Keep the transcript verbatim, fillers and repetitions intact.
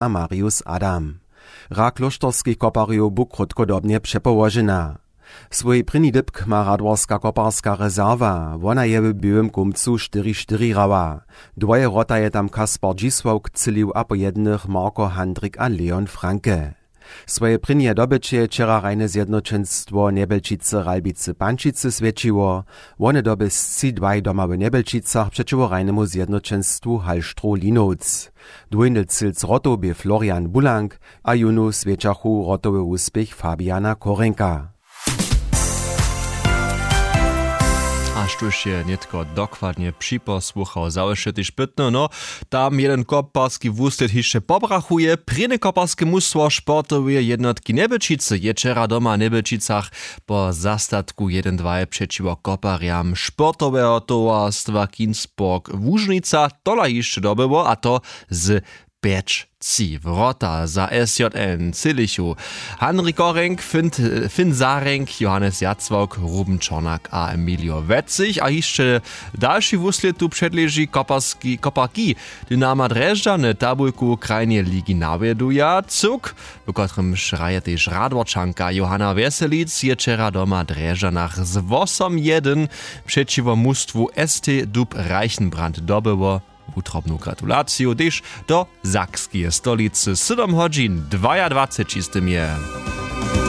a marius adam. Hra klóšterskich koparjow bu krótkodobnje přepołožena. Swój prěni dypk ma radworska koparska rezerwa, wona je w běłym kumcu štyri štyri hrała. Dwoje wrota je tam kaspar dźisławk třělił a po jednych marko handrik a leon franke. Swoje prěnje dobyće je wčera rajne zjednoćenstwo njebelčicy ralbicy pančicy swjećiło. Wone doby sci dwaj doma w njebelčicach přećiwo rajnemu zjednoćenstwu halštrow linowc. Dwójny cylc wrotow bě florian bulank, a jónu swjećachu wrotowy wuspěch fabiana korenka. A štóž je nětko dokładnje připosłuchał za wše tež pytno no, tam jeden koparski wuslěd hišće pobrachuje prěnje koparske mustwo sportoweje jednotki njebelčicy je wčera doma w njebelčicach po zastatku jedyn dwaj přećiwo koparjam sportoweho towarstwa kinsburg łužnica tola hišće dobyło a to z pjeć tři wrota za sjn cilichu. Hanrik korenk, finn zarjenk, johannes jacławk, ruben čornak a emilio wetzich a hišće dalši wuslěd tu předleži koparski koparki, dynama drježdźany tabulku krajneje ligi nawjeduja cyłk, w kotrymž hraje tež radworčanka johanna wjeselic je wčera doma w drježdźanach z wosom jedyn přećiwo mustwu st dub reichenbrand dobyło. Wutrobnu gratulaciju tež do sakskeje stolicy sydom hodźin dwajadwaceći z tym je.